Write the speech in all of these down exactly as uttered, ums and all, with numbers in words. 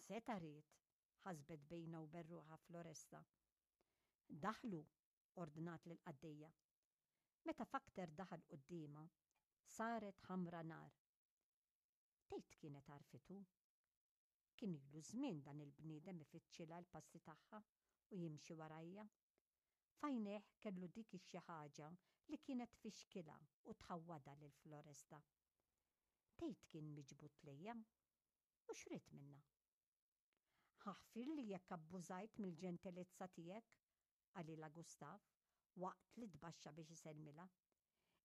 X'seta' ried? Ħasbet bejnha u bejn ruħha Floresta. Daħlu, ordnat lill-qaddejja. Meta Fakter daħal quddiemha, saret ħamra nar. Tgħid kienet għarfitu? Kien ilu żmien dan il-bniedem ifittxilha l-passi tagħha u jimxi warajja. F'għajnejh kellu dik ix-xi ħaġa li kienet tfixkilha u tħawwadha lil Floresta. Tgħid kien miġbud lejha? U x'ried minnha? Aħfirli jekk abbużajt mill-ġentilezza tiegħek, qalilha Gustav waqt li tbaxxa biex isellmilha.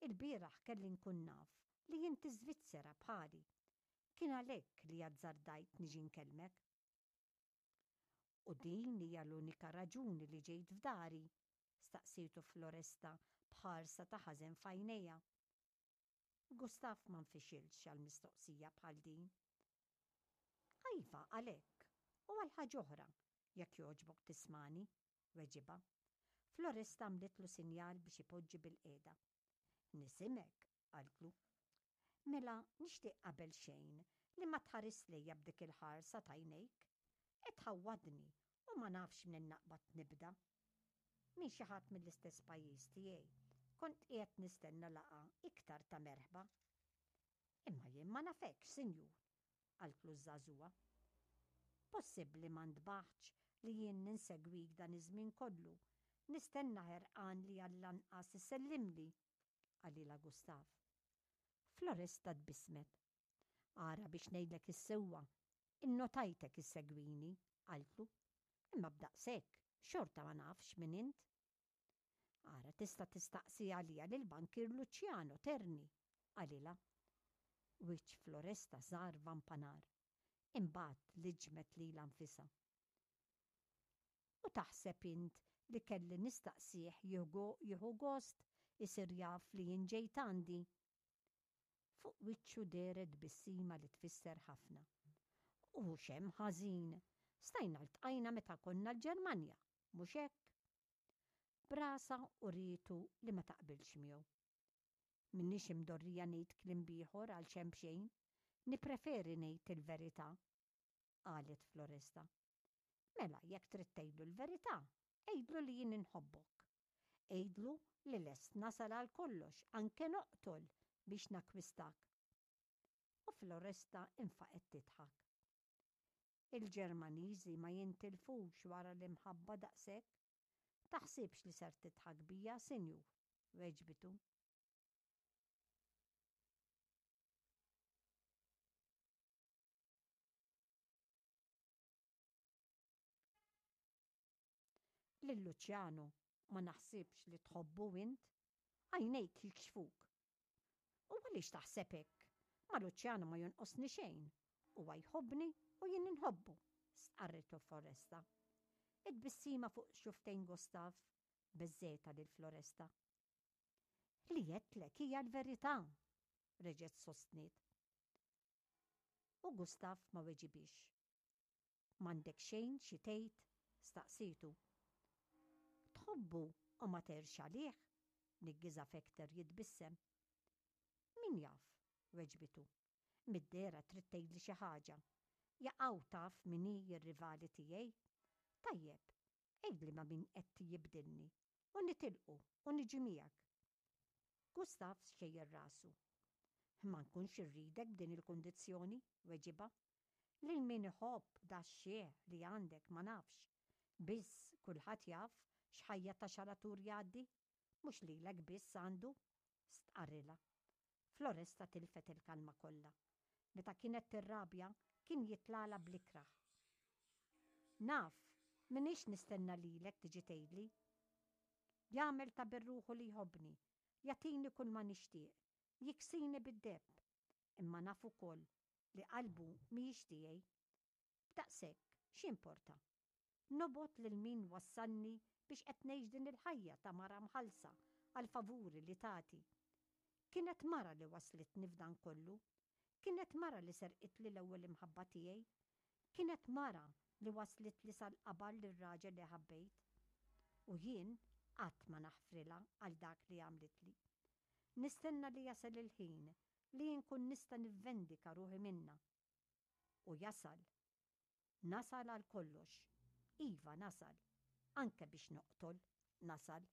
Il-bieraħ kelli nkun naf li inti Svizzera bħali. Kien għalhekk li azzardajt niġi nkellmek. U din hija l-unika raġuni li ġejt f'dari? Staqsietu Floresta b'ħarsa ta' ħażen f'għajnejha. Gustav ma nfixilx għal mistoqsija bħal din. Iva, għalhekk, u għal ħaġa oħra, jekk jogħġbok tismani, weġibha. Floresta għamlitlu sinjal biex ipoġġi bilqiegħda. Nisimek, qaltlu. Mela nixtieq qabel xejn li ma tħares lejja b'dik il-ħarsa t'għajnejk. Qed tħawwadni u ma nafx minn naqbad nibda. Minn xi ħadd mill-istess pajjiż tiegħi. Kont qiegħed nistenna laqgħa iktar ta' merħba. Imma jien ma nafekx, sinjur, qaltlu ż-żagħżugħa. Possibbli ma ntbaħtx li jien ninsegwik dan iż-żmien kollu, nistenna ħerqan li għall-anqas issellimli, qalilha Gustav. Floresta tbissmet. Ara biex ngħidlek is-sewwa, innotajtek issegwini, qaltlu. Imma b'daqshekk, xorta ma nafx min int. Ara tista' tistaqsi għalija lil bankier Luciano Terni, qalilha. Wiċċ Floresta sar vampa nar. Imbagħad liġmet lilha nfisha. U taħseb int li kelli nistaqsih jieħu gost isir jaf li jien ġejt għandi? Fuq wiċċu dehret tbissima li tfisser ħafna. U x'hemm ħażin, stajna ltqajna meta konna l-Ġermanja, mhux hekk? B'rasha urietu li ma taqbilx miegħu. M'iniex imdorrija ngħid kliem b'ieħor għal xejn b'xejn, nippreferi ngħid il-verità, qalet Floresta. Mela jekk trid tgħidlu l-verità, għidlu li jien inħobbok. Għidlu li lest nasal għal kollox, anke noqtol biex nakwistak. U Floresta infaqet tidħak. Il-Ġermaniżi ma jintilfux wara l-imħabba daqshekk. Taħsibx li ser tidħak bija, sinjur, weġbitu. Lil Luciano ma naħsibx li tħobbu int, għajnejk jikxfuk. U għaliex taħseb hekk? Ma Luciano ma jonqosni xejn, huwa jħobbni u jien inħobbu, stqarritu Floresta. It-tbissima fuq xufftejn Gustav beżżgħetha lil Floresta. Li għedtlek hija l-verità, reġgħet sostniet. U Gustav ma weġibix. M'għandek xejn xi tgħid? Staqsietu. Tħobbu u ma tgħirx għalih? Niggiżha Fekter jitbissem. Min jaf, weġbitu. Mid-dehra trid tgħidli xi ħaġa. Jaqaw taf min hi r-rivali tiegħi? Tajjeb, għidli ma' min qed jibdilni u nitilqu u niġi miegħek. Gustav xejjer rasu. Ma nkunx irridek b'din il-kundizzjoni, weġibha. Lil min iħobb da x-xiħ li għandek ma nafx. Biss kulħadd jaf x'ħajja ta' xalatur jgħaddi, mhux lilek biss għandu, stqarrilha. Floresta tilfet il-kalma kollha. Meta kienet tirrabja kien jitlala bl-ikrah. Naf, m'iniex nistenna lilek tiġi tgħidli. Jagħmel ta' birruħu li jħobbni, jagħtini kull ma nixtieq, jiksini bid-deheb, imma naf ukoll li qalbu mhijiex tiegħi. B'daqshekk, x'importa? Nobgħod lil min wassalni biex qed ngħix din il-ħajja ta' mara mħallsa għal favuri li tagħti. Kienet mara li waslitni f'dan kollu. Kienet mara li serqitli l-ewwel imħabba tiegħi. Kienet mara li waslitli sal-qabar lir-raġel li ħabbejt. U jien qatt ma naħfrilha għal dak li għamlitli. Nistenna li jasal il-ħin li nkun nista' nivvendika ruħi minnha. U jasal. Nasal għal kollox. Iva nasal. Anke biex noqtol, nasal.